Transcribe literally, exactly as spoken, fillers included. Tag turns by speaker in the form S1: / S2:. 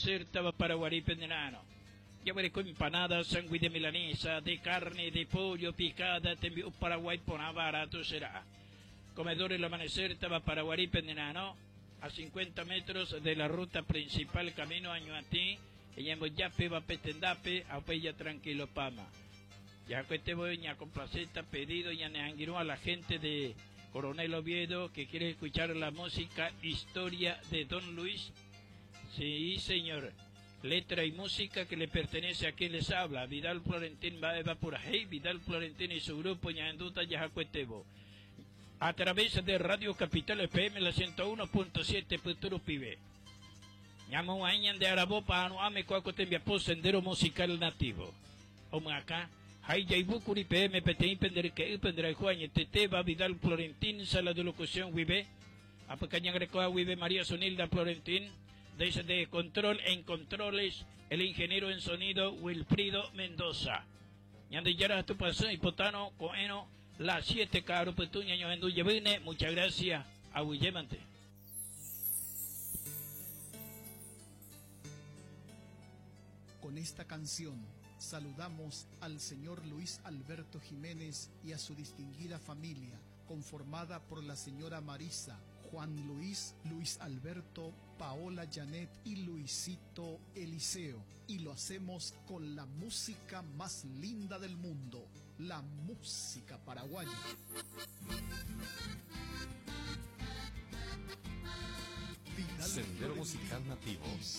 S1: Amanecer, Tava Paraguarí, Pendenano. Ya veré con empanadas, sándwich de milanesa, de carne, de pollo, picada, tembiu Paraguay, por barato será. Comedor El Amanecer, Tava Paraguarí, Pendenano, a cincuenta metros de la ruta principal, camino a Ñuatí, en Boyape, Bapetendape, a Pella Tranquilo Pama. Ya que te voy a complaceta pedido y a la gente de Coronel Oviedo que quiere escuchar la música Historia de Don Luis. Sí, señor. Letra y música que le pertenece a quien les habla, Vidal Florentín Baeva Purajey, Vidal Florentín y su grupo Ñanduta Yajacuetebo. A través de Radio Capital F M, la ciento uno punto siete Puturu Pibe. Ñamo añan de Arabopa, Anuame, Cuacotembiapó, Sendero Musical Nativo. Oma acá, Hayyaibukuri P M, P T I, Penderque, Pendere Juan, T T, Vidal Florentín, Sala de Locución, Huibe, Apacaña Grecoa, Huibe, María Sonilda Florentín, desde Control en Controles, el ingeniero en sonido Wilfrido Mendoza. Ñande Yara, tu pasó y potano, coeno, las siete, caro, petuña, ño, enduye, vine. Muchas gracias, aguillemante.
S2: Con esta canción saludamos al señor Luis Alberto Jiménez y a su distinguida familia, conformada por la señora Marisa, Juan Luis, Luis Alberto, Paola Janet y Luisito Eliseo. Y lo hacemos con la música más linda del mundo, la música paraguaya. Vidal
S3: Sendero
S2: Florentín
S3: Musical Nativo
S2: y su